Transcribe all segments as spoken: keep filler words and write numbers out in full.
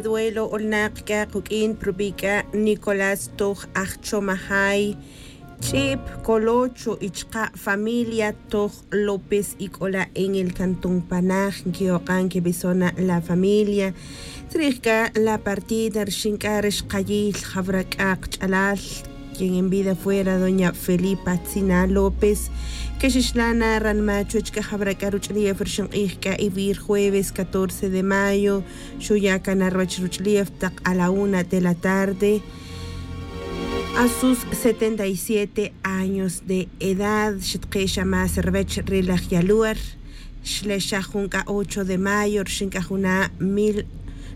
Duelo olnak k'a quk'in prubi' k'a nicolás toj ajchomajay, ch'ip colocho y chqa' familia toj lópez y k'ola' en el cantón panaj nki'oq'a' nkibisona la familia. Tzrij k'a la partida rixin k'a ri xqayil jawra k'a qch'alal quien en vida fuera doña felipa tzina lópez, que xixla' na ranma' chuwech k'a jawra k'a ruch'ulef rixin q'ij k'a ivir jueves catorce de mayo. Xuya' cana ruwech ruch'ulef taq a la una de la tarde a sus setenta y siete años de edad. Xitqe' xa más ruwech ri laj yaluer xle xa jun k'a ocho de mayo rixin k'a juna' mil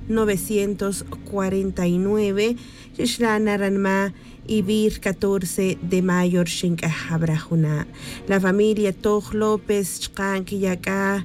novecientos cuarenta y nueve. Xixla' na ranma' ivir catorce de mayo rixin k'a jawra juna'. La familia toj lópez chqa' nkiya' k'a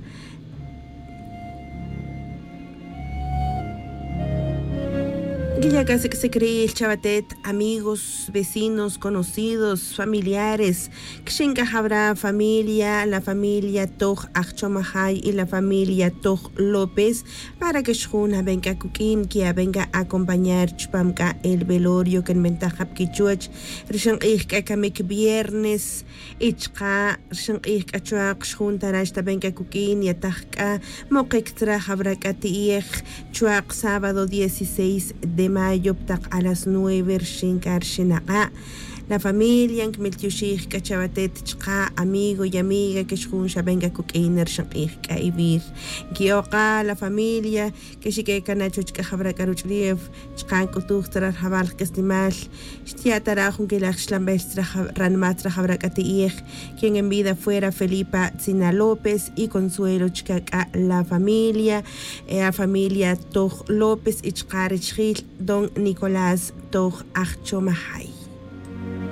nkiya' k'a sik' sik' ril chawatet amigos, vecinos, conocidos, familiares. Kixin k'a jawra familia la familia toj ajchomajay y la familia toj lópez para que xjun aben k'a kuk'in ki'aben k'a acompañar chupam k'a el velorio que nbentaj jab kichuwech rixin q'ij k'a kamik viernes. Y chqa' rixin q'ij k'a chuwaq xjun tarax taben k'a kuk'in yataj k'a moqik tzra jawra k'a ti'ej chuwaq sábado dieciséis de mayo ptaq a las nueve rixin k'a rixin aq'a'. La familia nkimiltioxij k'a chawatet chqa' amigo y amiga que xjun xaben k'a kuk'in rixin q'ij k'a ivir. Nki'oq'a' la familia que xique cana chuwech k'a jawra k'a ruch'ulef chqa' nk'utuj tzra rajawal qak'aslemal. Xtiya' tara' jun quilaj xlanbel ranma' tzra jawra k'a ti'ej quien en vida fuera felipa tzina lópez y consuelo chca' k'a la familia. A familia toj lópez y chqa' richjil don nicolás toj ajchomajay.